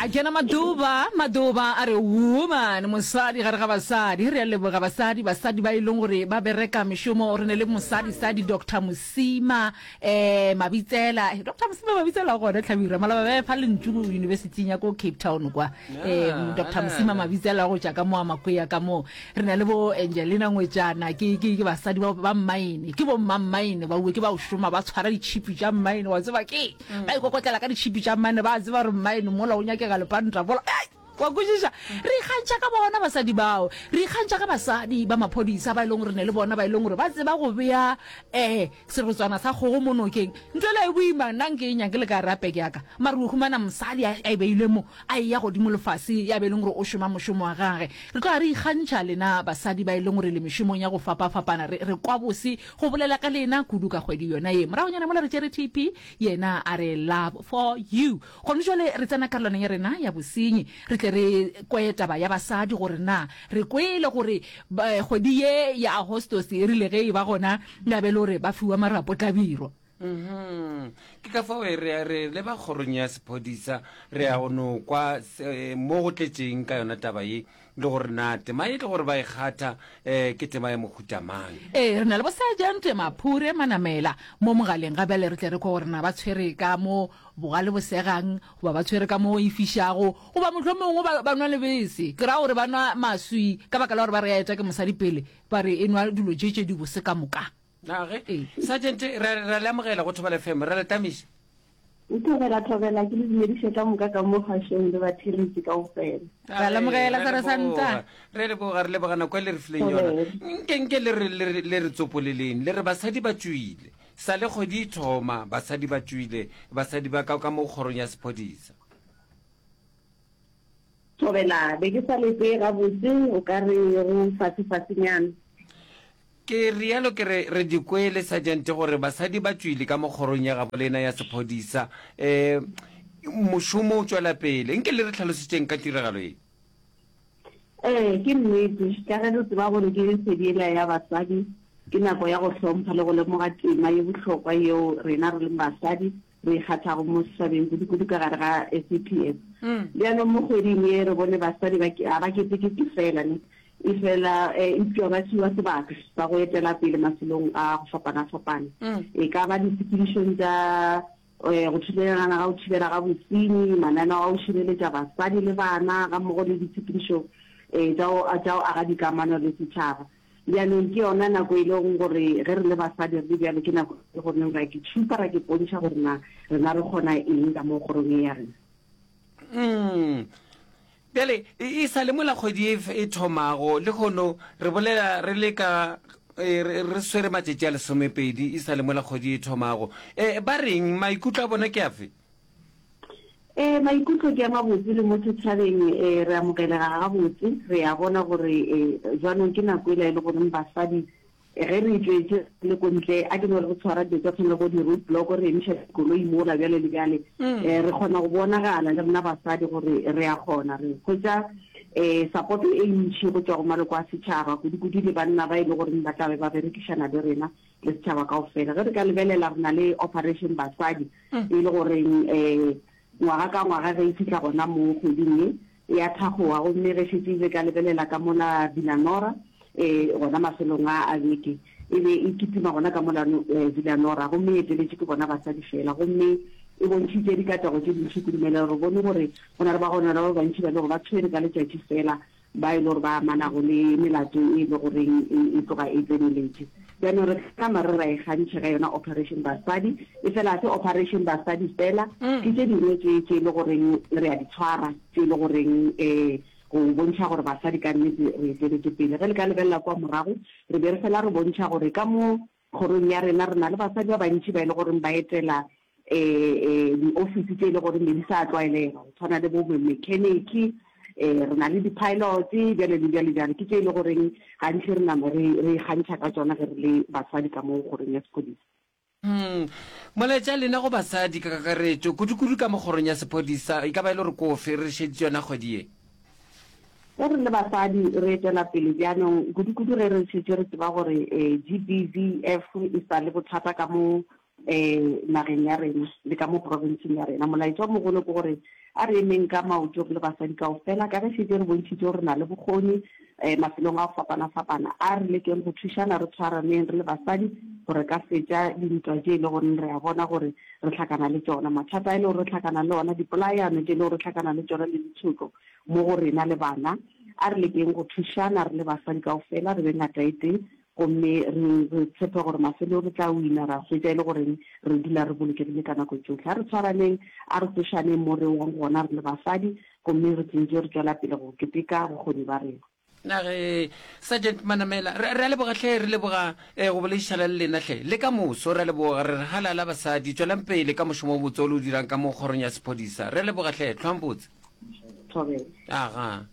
A kena Maduba, Maduba a re woman, mosadi gare ga basadi. Re a leboga basadi, basadi ba e leng gore ba bereka mešomo. Re ne le mosadi sadi Doctor Mosima eh Mabitsela. Doctor Mosima Mabitsela o gona Hlabirwa, maloba ba fa lentšu go university ya ko Cape Town kwa. Eh Doctor Mosima Mabitsela go tša ka mo a Makwea ka mo. Re na le bo Angelina Ngwetšana, ke ke ke basadi ba ba mmaene, ke bo mma mmaene ba uwe ke ba o šoma ba tshwara ditšhipi tša mmaene wa tseba ke. Ba ikokotlela ka ditšhipi tša mmaene, ba a tseba gore mmaene mola o nyakega lepanta mola. Ei! Wa kwešiša? Re ikgantšha ka bona basadi bao. Re ikgantšha ka basadi ba maphodisa ba e leng gore ne le bona ba e leng gore ba tseba go bea um serotswana sa kgogo mo nokeng. Ntho ela e boima, nna nke e nyake le ka re a peke ya ka. Mare o humana mosadi a e beile mo, a eya godimo le fase, ya be e leng gore o šoma mošomo wa gage. Re tloga re ikgantšha lena basadi ba e leng gore le mešomong ya go fapafapana. Re, re kwa bose go bolela ka lena kudu ka kgwedi yona ye. Moragonyana mola re tšere TP, Yena a re, Love for you. Gone jwale re tsena karolwaneng ya rena ya bosenyi, re tle re kwe taba ya basadi gore na re kwele gore kgwedi ye ya Agostose e rile ge e ba gona ya be le gore ba fiwa marapo tlabirwa. Mhm. Ke ka fao re re leba kgorong ya sephodisa re ya go no kwa mo go tletšeng ka yona taba ye. Le gore na tema ye le gore ba e kgatha um ke tema ya mohuta mang. Ee, re na le bo-Sergeant Maphure Manamela mo mogaleng ga bjale re tle re kwe gore na ba tshwere ka mo bogale bo segang goba ba tshwere ka mo e fišago goba mohlomongwe ba, ba nwa lebese. Ke ra gore ba nwa maswi ka baka la gore ba re ya etša ke mosadi pele ba re e nwa dilo tše tše dibose ka moka. Na ge, Ee. Sergeant, re, re a le amogela go Thobela FM, re a le tamiša. Thobela, thobela, ke le dumediše ka moka ka mo kgašong le batheeletši kaofela. Re a lemogela, Re a Seresanta. leboga, re a leboga, re leboga nako e le re fileng yona. Nke, nke le re, le re, le re tsopoleleng, le re basadi ba tšwile. Sa le kgwedi e thoma, basadi ba tšwile, basadi ba ka, ka mo kgorong ya sephodisa. Thobela, be ke sa le tsee gabotse, o ka re go fase-fasenyana. Ke realo ke re, re di kwele, Sergeant, gore basadi ba tšwile ka mo kgorong ya gabo lena ya sephodisa. Um mošomo o tšwela pele. Nke le re hlalosetšeng ka tiragalo ye. Ee, ke nnete. Ka ge re tseba gore ke kgwedi yela ya basadi, ke nako ya go hlompha le go lemoga tema ye bohlokwa yeo rena re leng basadi re e kgathago mo setšhabeng, kudu-kudu ka gare ga SAPS. Bjalo mo kgweding ye re bone basadi ba ga ba ketekete fela ne, efela eupša ba fiwa sebaka sa go etela pele mafelong a go fapana-fapana, e ka ba ditshepedišong tša go thulelana ga go thibela ga bosenyi, mananeo a go šireletša basadi le bana gammogo le ditshepedišo tša go aga dikamano le setšhaba. Bjanong ke yona nako e lego gore ge re le basadi re le bjalo ke nako e le goreng ra ke tšhupa, ra ke pontšha gore na rena re kgona eng ka mo kgorong ye ya rena. Mm. Bjale e sa le mola kgwedi e, e thomago lehono re bolela re le ka e, re re swere matšatši a lesomepedi e sa le mola kgwedi e thomago. E, ba reng maikutlo a bona ke afe? Ee, maikutlo ke a mabotse le mo setšhabeng ee, re amogelega gabotse. Re a bona gore ee, jwanong ke nako ela e le goreng basadi ge re tšwetše le ko ntle, a ke no re re tshwara dilo tša tshwana le bo di-road block, re emiša dikoloi mola bjale le bjale, ee, re kgona go bonagala le rena basadi gore re a kgona. Re hwetša ee support e ntši go tšwa go maloko a setšhaba, kudu-kudu le banna ba e le goreng ba tla be ba berekišana le rena le setšhaba kaofela. Ge re ka lebelela re na le Operation Basadi, e le goreng um ngwaga ka ngwaga ge e fihla gona mo kgweding ye e a thakgoga, gomme ge šetše re ka lebelela ka mola Villanora um gona mafelong a a beke e be e kitima gona ka mola Villanora, gomme e eteletše ke bona basadi fela, gomme e bontšhitše dikatlego tše dintši kudu. Re bone gore go na le bagononelwa ba bantši ba e le gore ba tshwere ka letšatši fela ba e le gore ba amanago le melato e le goreng e tloga e tseneletše. Bjanong re ka nama re ra e gantšha ka yona Operation Basadi, efela ga se Operation Basadi fela, ke tše dingwe tše tše e le goreng re a di tshwara, tše e le goreng um go bontšha gore basadi ka nnete re eteletše pele. Ge le ka lebelela kua morago, re be re fela re bontšha gore ka mo Kgorong ya rena re na le basadi ba bantši ba e le goreng ba etela diofisi tše e le goreng be di sa tlwaelega, go tshwana le bo mechanic, re na le di-pilot, bjale le bjale bjale. Ke tše e le goreng gantši re nama re re ikgantšha ka tšona ge re le basadi ka mo kgorong ya sephodisa. Molaetša lena go basadi ka kakaretšo, kudu-kudu ka mo kgorong ya sephodisa, e ka ba e le gore ke ofe re šeditše yona kgwedi ye? Ge re le basadi re etela pele bjanong, kudu-kudu ge re šetše re tseba gore GBVF e sa le bothata ka mo um nageng ya rena le ka mo profenseng ya rena. Molaetša o mogolo ke gore a re emeng ka maoto re le basadi kaofela, ka ge šetše re bontšhitše gore re na le bokgoni um mafelong a go fapana-fapana. A re lekeng go thušana, re tshwaraneng re le basadi gore re ka fetša dintwa tše e le goreng re a bona gore re hlakana le tšona, mathata a e le gore re hlakana le ona, dipolayano tše e le gore re hlakana le tšona le ditshotlo mo go rena le bana. A re lekeng go thušana re le basadi kaofela, re be ngata e tee gomme re, re tshepe gore mafelong re tla wina, ra hwetša e le goreng re dula re bolokegile ka nako tšohle. A re tshwaraneng, a re tsošaneng mo re wang gona re le basadi, gomme re tšentše re tšwela pele go keteka bokgoni ba rena. Na ge, Sergeant Manamela, re, re a leboga hle, re leboga eh, go boledišana le lena hle. Le ka moso, re a leboga, re re halala basadi, tšwelang pele ka mošomo o botse o le o dirang ka mo kgorong ya sephodisa. Re a leboga hle, hlwang botse. Thobela. Aga.